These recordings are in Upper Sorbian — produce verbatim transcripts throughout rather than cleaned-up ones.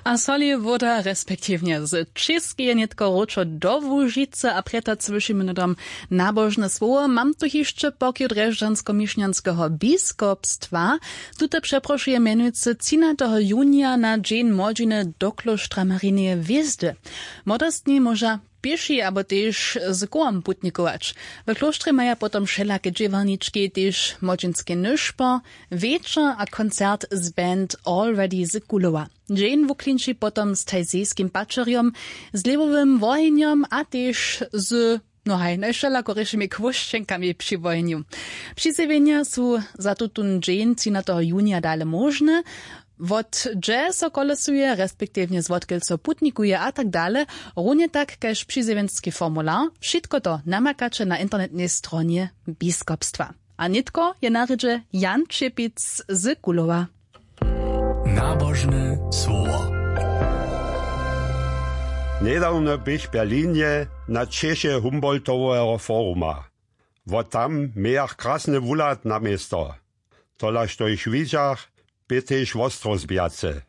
A soli woda respektiwnje z Čěskeje nětko wróćo do Łužicy a prjetac wyšim minudom nabožne słowo. Mam tu hišće pokiw drježdźansko-mišnjanského biskopstwa. Tute přeprošuje mjenujcy třinateho junija na dźeń młodźiny do klóštra Marineje hwězdy. Młodostni móža pěši abo tež z kołom putnikować. W klóštrje maja potom wšelake dźěłarnički, tež młodźinski nyšpor, wječor a koncert z band Already z Kulowa. Dźeń wuklinči potom z tajzejskim pačerjom, z lěhwowym wohenjom a tež z, no haj, najwšelakorješimi chłóšćenkami při wohenju. Přizjewjenja su za tutón dźeń třinateho junija dale móžne. Wot hdźe so kolesuje, respektiwnje zwotkelž so putnikuje a tak dale, runje tak kaž přizjewjenski formular, wšitko to namakaće na internetnej stronje biskopstwa. A nětko je na rědźe Jan Čěpic z Kulowa. Nabožne słowo. Njedawno běch w Berlinje na češe Humboldtoweho foruma. Wot tam mějach krasny wuhlad na město. Tola što jich widźach, bě tež wostrozbjace.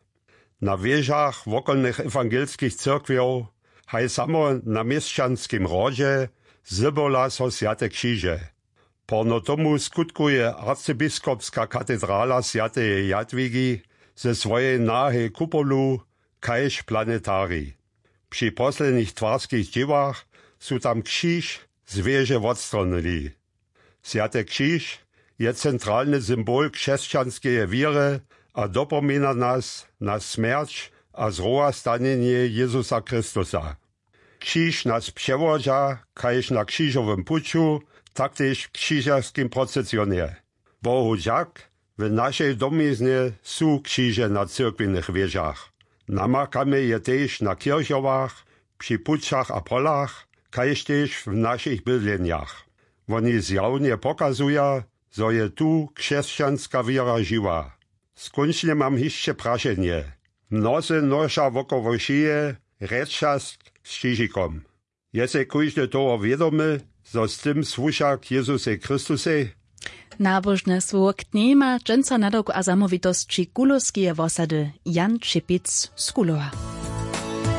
Na wěžach wokolnych ewangelskich cyrkwjow, haj samo na měšćanskim hrodźe, zdyrbjola so swjate křiže. Porno tomu skutkuje arcybiskopska katedrala swjateje Jadwigi ze swojej nahej kupolu kaž planetarij. Při poslednich twarskich dźěłach su tam křiž z wěže wotstronyli. Swjaty křiž je centralny symbol křesćanskeje wěry a dopoměna nas na smjerć a zrowastanjenje Jezusa Chrystusa. Křiž nas přewodźa kaž na křižowym puću, tak tež w křižerskim procesionje. Bohu dźak, w našej domiznje su křiže na cyrkwjenych wěžach. Namakamy je tež na kěrchowach, při pućach a polach, kaž tež w našich bydlenjach. Woni zjawnje pokazuja, zo je tu křesćanska wěra žiwa. Skónčnje mam hišće prašenje. Mnozy noša wokoło šije rjedčastk z křižikom. Je sej kóždy toho wědomy, zo z tym słuša k Jezusej Chrystusej? Nabožne słowo k njejmaj dźensa nadawk a zamołwitosći kulowskeje wosady Jan Čěpic z Kulowa.